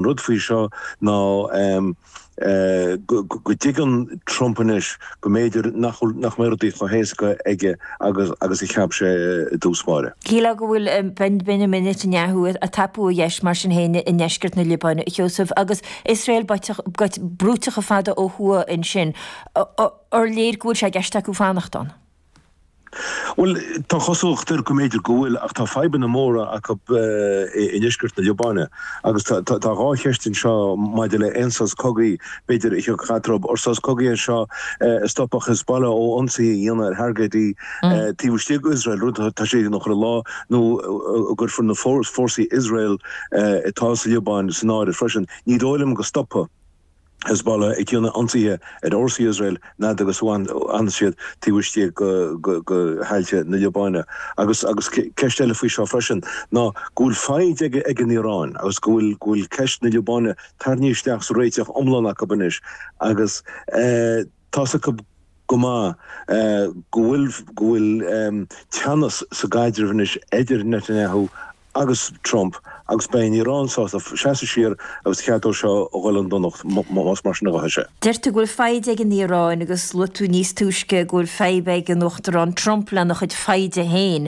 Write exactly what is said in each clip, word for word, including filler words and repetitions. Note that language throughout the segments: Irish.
Rud faoi seo ná go dtuigeann Trump anois go mb'fhéidir nach nach mbeidh rudaí chomh héasca aige agus agus a cheap sé i dtús báire. Shílfeá go bhfuil Benjamin Netanyahu ag tapú a dheis mar sin féin i ndeisceart na Liobáine, a Sheosaimh, agus Iosrael brúite chomh fada ó thuaidh ansin. Ar léir go bhfuil sé i gceist acu fanacht ann? Bhuel, tá cosúlacht air go mb'fhéidir go bhfuil, ach tá fadhbanna móra acu i ndeisceart na Liobáine agus tá dhá cheist anseo maidir le aon sos cogaidh, b'fhéidir, a thiocfadh eatarthu. Ar sos cogaidh é seo a stopfadh Hezbollah ó ionsaithe a dhéanamh ar thargaidí taobh istigh d'Iosrael, rud atá siad ag cur i lá, nó an gcuirfear na fórsaí Iosrael atá sa Liobáin san áireamh freisin. Ní dóigh liom go stopfaidh. Hezbollah ag déanamh ionsaithe ar fhórsaí Iosrael fhad agus a fhanann siad taobh istigh de thailte na Liobáine. Agus agus ceist eile faoi seo freisin ná go bhfuil foighid ag ag an Iaráin agus go bhfuil go bhfuil ceist na Liobáine tarraingthe isteach sa réiteach iomlán acu anois agus tá's acu go maith go bhfuil go bhfuil teannas sa gcaidreamh anois idir Netanyahu agus Trump agus beidh an Iaráin sásta seasamh siar agus cead dó seo a dhul chun donacht más mar sin a ghabhfaidh sé. Deir tú go bhfuil foighid ag an Iaráin agus luaigh tú níos túisce go bhfuil fadhb ag an Uachtarán Trump lena chuid foighde féin.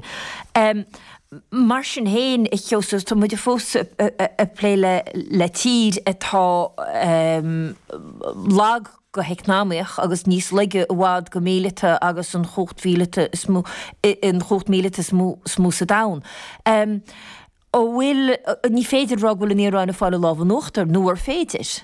Mar sin féin, a Sheosaimh, tá muid fós ag plé le tír atá lag go heacnamaíoch agus níos laige i bhfad go míleata agus an chumhacht mhíleata is mó an chumhacht míleata is mó is mó sa domhan. An bhfuil, ní féidir a rá go bhfuil an Iaráin ag fáil an lámh in uachtar, nó ar féidir?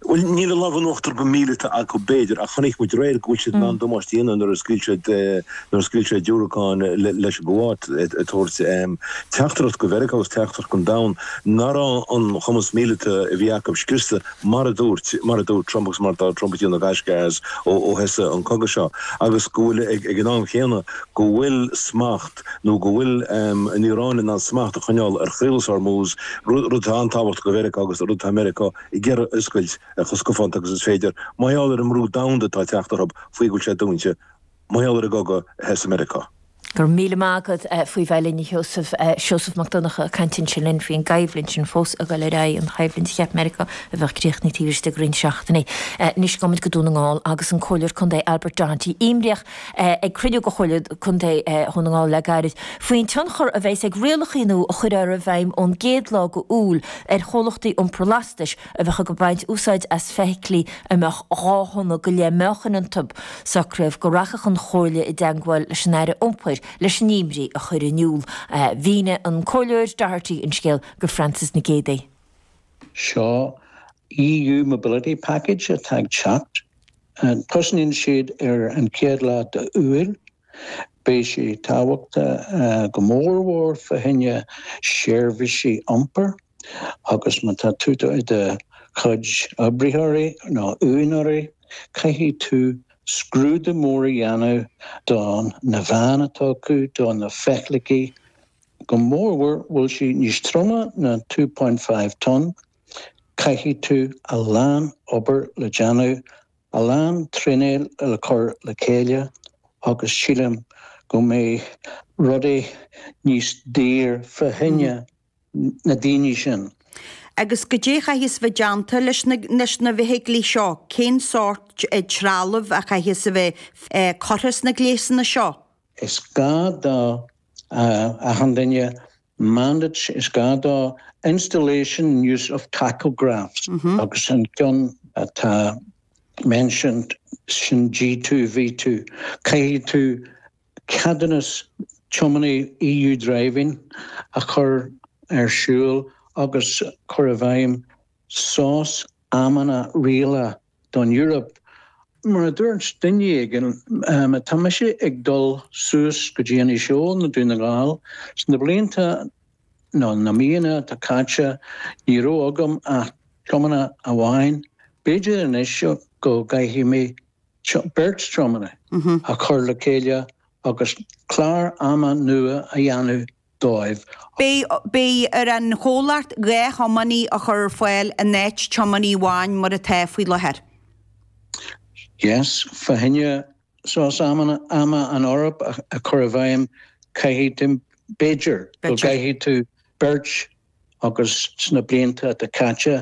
Bhuel, níl an lámh in uachtar go míleata acu b'fhéidir, ach chonaic muid aréir go bhfuil siad in ann damáiste a dhéanamh nuair a scaoil siad nuair a scaoil siad diúracáin leis an gCuáit ag tabhairt teachtaireacht go Mheiriceá agus teachtaireacht don domhan nach raibh an cumas míleata a bhí acu scriosta mar a dúirt mar a dúirt Trump agus mar atá Trump ag déanamh gaisce as ó ó thosaigh an cogadh seo agus go bhfuil ag ag an am chéanna go bhfuil smacht nó go bhfuil an Iaráin in ann smacht a choinneáil ar Chaolas Hormuz, rud atá an-tábhachtach do Mheiriceá agus rud atá Meiriceá ag iarraidh a oscailt chomh scafánta agus is féidir, mar gheall ar an mbrú domhanda atá ag teacht orthu faoi go bhfuil sé dúnta, mar gheall ar an gcogadh a thosaigh Meiriceá. Go raibh míle maith agat faoi bheith linn, a Sheosaimh. Seosamh Mac Donncha ag caint ansin linn faoin gcoimhlint sin fós ag dul ar aghaidh, an choimhlint a cheap Meiriceá a bheadh críochnaithe taobh istigh de roinnt seachtainí. Anois gabhfaidh muid go Dún na nGall agus an Comhairleoir Contae Albert Doherty imníoch ag cruinniú de Chomhairle Contae Dhún na nGall le gairid faoin tionchar a bheas ag rialacha nua a chuirfear i bhfeidhm ón gcéad lá de Iúil ar chomhlachtaí iompair lastais a bheadh ag baint úsáid as feithiclí a mbeadh dhá thonna go leith meáchain iontu. Socraíodh go rachadh an Chomhairle i dteagmháil leis an Aire Iompair leis an imní a chur in iúl. Mhínigh an Comhairleoir Doherty an scéal go Frances Nic Géadaigh. Seo EU Mobility Package atá ag teacht. Tosnaíonn siad ar an chéad lá d'Iúil. Beidh sé tábhachtach go mórmhór fá choinne seirbhísí iompair agus má tá tú i do chuid oibritheoirí nó úinéirí, caithfidh tú scrúdú mór a dhéanamh do na veain atá acu, do na feithiclí, go mórmhór bhfuil sí níos troime ná two point five tonne, caithfidh tú a lán obair le déanamh, a lán traenáil le cur le chéile agus sílim go mbeidh rudaí níos daor fá choinne na daoine sin. Agus goidé a chaithfeas bheith déanta leis na leis na bhfeithiclí seo? Cén sórt trealamh a chaithfeas a bheith curtha sna gléasanna seo? Is gá do achan duine mandate, is gá do installation and use of tachographs agus an ceann atá mentioned sin G two V two. Caithfidh tú ceadúnas tiománaí EU Driving a chur ar siúl agus cur i bhfeidhm sos amanna rialacha don Eoraip. Mar a dúirt duine éigin, tá mise ag dul suas go dtí Inis Eoghain nó Dún na nGall. Sna blianta nó na míonna atá caite ní raibh agam ach tiománaí amháin. B'fhéidir anois go gcaithfidh mé beirt tiománaí a chur le chéile agus clár ama nua a dhéanamh dóibh. Beidh beidh ar an chomhlacht dhá thiománaí a chur ar fáil in áit tiománaí amháin mar atá faoi láthair. Yes, fá choinne sos ama ama an Eoraip a chur i bhfeidhm caithfidh tú, b'fhéidir go gcaithfidh tú beirt agus sna blianta atá caite